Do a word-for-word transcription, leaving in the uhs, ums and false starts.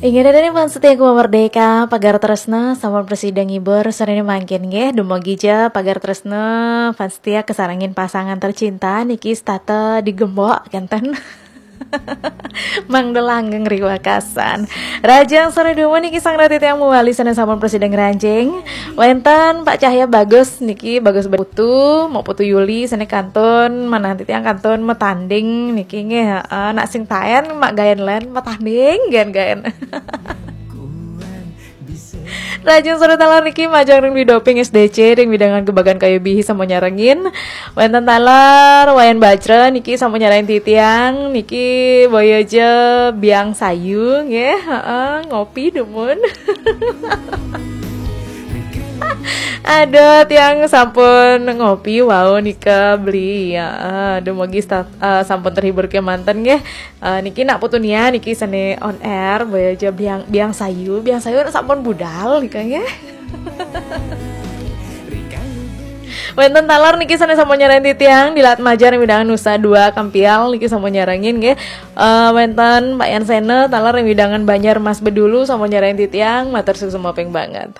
Inggih nih fans setia Gema Merdeka, pagar tresna sampun prasida ngibur sore mangkin nggih. Dumugi ja pagar tresna fans setia kasarengin pasangan tercinta niki setata digembok kenten. Mangda langgeng ring wekasan. Rahajeng sore dumun niki sareng titiang malih sane sampun prasida ngranjing. Wenten Pak Cahya Bagus niki, Bagus Putu, Mak Putu Yuli sane kantun, manah titiang kantun matanding niki nggih, heeh, nak sing taen Mak Gaen Len matanding gaen-gaen. Rahajeng sore taler niki majeng ring Widoping S D C ring wewidangan Gebagan Kayu Bihi sampun nyarengin. Wenten taler Wayan Bajra niki sampun nyarengin titiang niki, boya ja biang sayu nggih, heeh, ngopi dumun. Aduh, tiang sampun ngopi wau nika beli. Ya, aduh, mugi sta-, eh, sampun terhibur kemanten nggih. Eh, niki nak Putu Nia niki sane on air, boya ja biang, biang sayu, biang sayu sampun budal nika nggih. Wenten taler niki sane sampun nyarengin titiang, Dilat Majar ring wewidangan Nusa Dua Kampial niki sampun nyarengin nggih. Eh, wenten Pak Yan Sena taler ring wewidangan Banjar Mas Bedulu sampun nyarengin titiang, matur suksma ping banget.